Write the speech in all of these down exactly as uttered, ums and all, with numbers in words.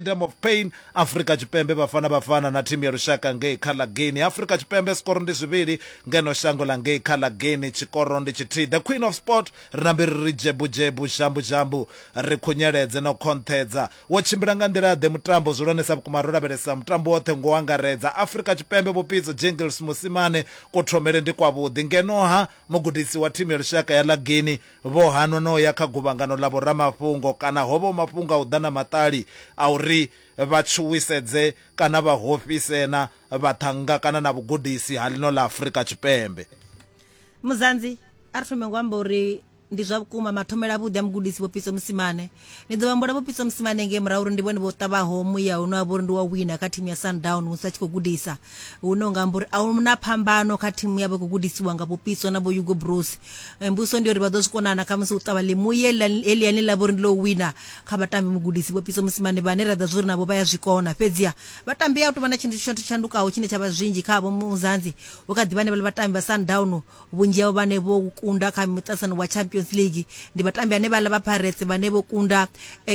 Stadium of Pain. Afrika Tshipembe Bafana Bafana na thimu ya lushaka ngei kha ḽa Guinea. Afrika Tshipembe skoro ndi zwivhili, ngeno shango ḽa ngei kha ḽa Guinea tshikoro ndi tshithihi. The Queen of Sport ri nambe ri ri dzhebu dzhebu zhambu zhambu ri khunyeledze na u khonṱhedza. Wo tshimbila nga nḓila ḓe mutambo zwihulwanesa vhukuma ro lavhelesa mutambo woṱhe ngo angaredza. Afrika Tshipembe Vho Pitso Jingles Mosimane kuthomele ndi kwavhuḓi, ngeno ha mugudisi wa thimu ya lushaka ya ḽa Guinea vho hanwa no ya kha guvhangano ḽa vhoramafhungo kana ho vha mafhungo a u ḓa na maṱali a uri vha tshuwisedze kana vha hofhise na vhaṱhannga kana na vhugudisi ha ḽino ḽa Afrika Tshipembe. Muzanzi, a ri thome ngo amba uri ndi zwa vhukuma mathomela avhuḓi a mugudisi Vho Pitso Mosimane. Ni ḓo vhambula Vho Pitso Mosimane ngei murahu uri ndi vhone vho ṱavhaho muya une wa vha uri ndi wa wina kha thimu ya Sundown musi a tshi khou gudisa, hune u nga amba uri a hu na phambano kha thimu yavho i khou gudisiwa nga Vho Pitso na Vho Hugo Broos. Mbudziso ndi uri vha ḓo zwi konana kha musi u ṱavha ḽimuya heḽiani ḽa vha uri ndi ḽo wina kha vhatambi mugudisi Vho Pitso Mosimane vhane ra ḓa zwa uri navho vha ya zwi kona. Fhedziha vhatambi a hu tou vha na tshithu tsho tshandukaho tshine tsha vha zwinzhi khavho Muzanzi, hu kha ḓi vha henevhaḽa vhatambi vha Sundown vhunzhi havho vhane vho kunda kha muṱaṱisano wa Champions League ndi vhatambi ane vhaḽa vha Pirates vhane vho kunda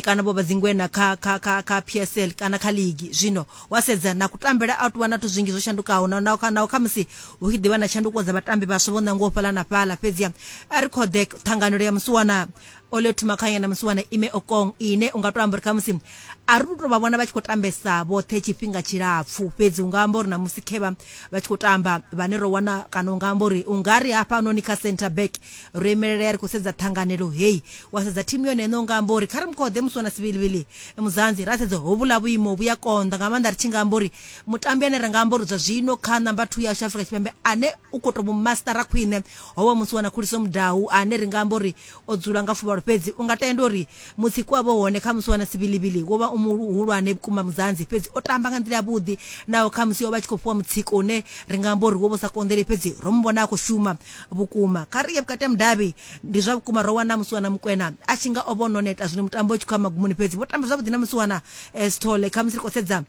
kana vho vha dzingwena kha kha kha kha P S L kana kha league. Zwino wa sedza na kutambele a tou vha na zwithu zwinzhi zwo shandukaho na na na kha musi hu tshi ḓivha na tshanduko dza vhatambi vhaswa vho ṋangiwaho fhaḽa na fhaḽa. Fhedziha a ri khode ṱhanganelo ya musiwana Olwethu Makhanya na musiwana Ime Okong ine u nga to amba uri khamusi a ri to vha vhona vha tshi khou tambesa vhoṱhe tshifhinga tshilapfu, fhedzi u nga amba uri na musi khevha vha tshi khou tamba vhane ro wana kana u nga amba uri u nga ri hafhanoni kha center back ro imelela ri khou sedza ṱhanganelo heyi. Wa sedza thimu yone ine u nga amba uri kha ri mukhoḓe musiwana Sibilibili Muzanzi ra sedza hovhuḽa vhuimo vhu ya konḓa nga maanḓa ri tshi nga amba uri mutambi ane ra nga amba uri zwa zwino kha namba two yashu Afrika Tshipembe ane u khou tou mastara khwine hovha musiwana Khuliso Mudau ane ri nga amba uri o dzula nga fuvhalo, fhedzi u nga tenda uri mutsiko wavho hone kha musiwana Sibilibili wo vha u muhulwane vhukuma Muzanzi, fhedzi o tamba nga nḓila yavhuḓi naho kha musi o vha tshi khou fhiwa mutsiko une ri nga amba uri wo vha u sa konḓeli, fhedzi ro mu vhona a khou shuma vhukuma. Kha ri ye vhukati ha mudavhi, ndi zwa vhukuma ro wana musiwana Mukwena a tshi nga o vha o no neta zwino mutambo u tshi khou ya magumoni, fhedzi vho tamba zwavhuḓi na musiwana Sithole. Kha musi ri khou sedza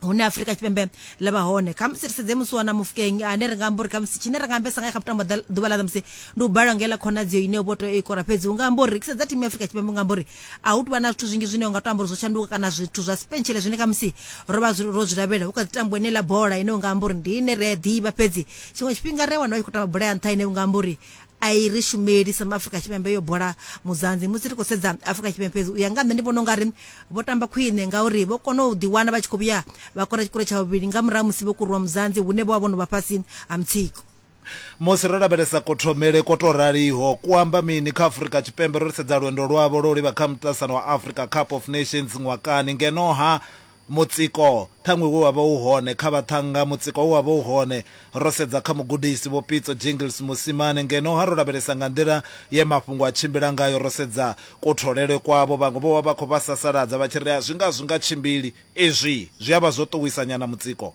hune Afrika Tshipembe ḽa vha hone, kha musi ri sedze musiwana Mofokeng ane ri nga amba uri kha musi tshine ra nga ambesa ngae kha mutambo ḓuvha ḽa ṋamusi ndi u balelwa ngela khonadzeo ine vho tea u i kora, fhedzi u nga amba uri sedza thimu ya Afrika Tshipembe u nga amba uri a hu tuvha na zwithu zwinzhi zwine u nga to amba uri zwo shanduka kana zwithu zwa sipentshele zwine kha musi ro vha ro zwi lavhelela. Hu kha ḓi tambiwa ine ḽa bola ine u nga amba uri ndi ine ri a ḓivha, fhedzi tshiṅwe tshifhinga ri a wana vha tshi khou tamba bola ya nṱha ine u nga amba uri a i ri shumeli sa Afrika Tshipembe yo bola Muzanzi. Musi ri khou sedza Afrika Tshipembe fhedzi u ya nga nṋe ndi vhona ungari vho tamba khwine ngauri vho kona u ḓiwana vha tshi khou vhuya vha kora tshikoro tsha vhuvhili nga murahu musi vho kurwa Muzanzi hune vho vha vho no vha fhasi ha mutsiko. Musi ro lavhelesa kuthomele kwo tou raliho ku amba mini kha Afrika Tshipembe ro sedza lwendo lwavho lwo livha kha muṱaṱisano wa Africa Cup of Nations ṅwakani, ngeno ha mutsiko ṱhaṅwe we wa vha u hone kha vhaṱhannga, mutsiko we wa vha u hone ro sedza kha mugudisi Vho Pitso Jingles Mosimane, ngeno ha ro lavhelesa nga nḓila ye mafhungo a tshimbila ngayo ro sedza kutholele kwavho, vhaṅwe vho vha vha khou vha sasaladza vha tshi ri a zwi nga zwi nga tshimbili izwi zwi a vha zwo ṱuwisa nyana mutsiko.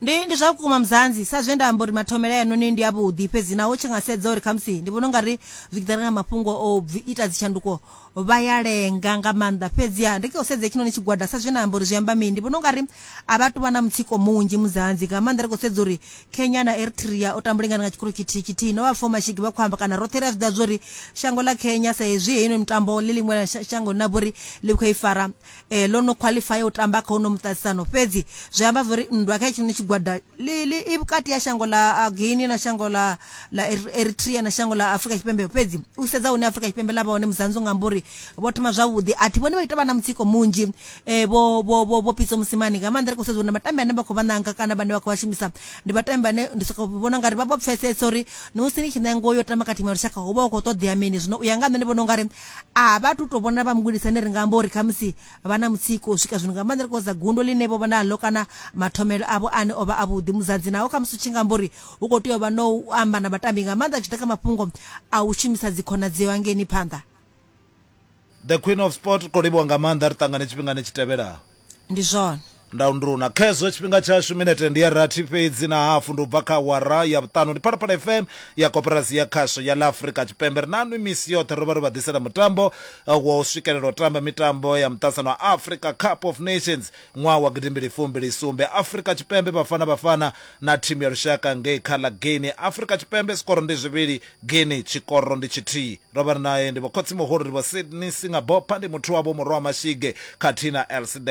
Ndi ndi zwa vhukuma Muzanzi, sa zwe nda amba uri mathomele ayanoni ndi avhuḓi, fhedzi naho tshi nga sedza uri khamusi ndi vhona ungari zwi tshi ḓa nga mafhungo o ita dzitshanduko vha ya lenga nga maanḓa. Fhedziha ndi khou sedza hetshinoni tshigwada sa zwe nda amba uri zwi amba mini, ndi vhona ungari a vha tuvha na mutsiko munzhi Muzanzi, nga maanḓa ri khou sedza uri Kenya na Eritrea o tambulingana nga tshikoro tshithihi tshithihi no vha four mashigi vha khou amba kana roṱhe ri a zwi ḓivha zwori shango ḽa Kenya sa hezwi heino mitambo ḽi ḽiṅwe ḽa shango ḽine ḽa vha uri ḽi khou i fara eh, ḽo no qualify u tamba kha uno muṱaṱisano, fhedzi zwi amba uri nndwa kha hetshinoni tshigwada ḽi ḽi i vhukati ha shango ḽa Guinea na shango ḽa ḽa Eritrea na shango ḽa Afrika Tshipembe. Fhedzi u sedza hune Afrika Tshipembe ḽa vha hone Muzanzi u nga amba uri vho thoma zwavhuḓi, a thi vhoni vha ita vha na mutsiko munzhi eh, vho vho vho vho Pitso Mosimane, nga maanḓa ri khou sedza uri na vhatambi ane vha khou vha nanga kana vhane vha khou vha shumisa ndi vhatambi vhane ndi sokou vhona ungari vha vho pfesesa uri musi ni tshi ṋangiwa yo tamba kha thimu ya lushaka hu vha hu khou ṱoḓea mini. Zwino u ya nga nṋe ndi vhona ungari a vha tu tou vhona vha mugudisi ane ri nga amba uri khamusi vha na mutsiko u swika zwino, nga maanḓa ri khou sedza gundo ḽine vho vha naḽo kana mathomele avho ane o vha avhuḓi Muzanzi, naho khamusi u tshi nga amba uri hu khou tea u vha no u amba na vhatambi nga maanḓa zwi tshi ḓa kha mafhungo a u shumisa dzikhonadzeo hangeini phanḓa. The Queen of Sport, khou livhuwa nga maanḓa, ri ṱangane tshifhingani tshi tevhelaho. Ndi zwone. Ndaunduna khezwo tshifhinga tshashu minete ndi ya rathi fhedzi na hafu, ndi u bva kha awara ya vhuṱanu. Ndi Phalaphala F M ya koporasi ya khasho ya ḽa Afrika Tshipembe. Ri na nwi misi yoṱhe ro vha ri vha ḓisela mutambo wa u swikelela u tamba mitambo ya muṱasano wa Africa Cup of Nations ṅwaha wa gidimbili fumbili sumbe. Afrika Tshipembe Bafana Bafana na thimu ya lushaka ngei kha ḽa Guinea. Afrika Tshipembe sikoro ndi zwivhili, Guinea tshikoro ndi tshithihi. Ro vha ri naye ndi vho khotsi muhulu, ndi vho Sydney Singabopha, ndi muthu wavho murwa wa Mashige khathihi na L C D.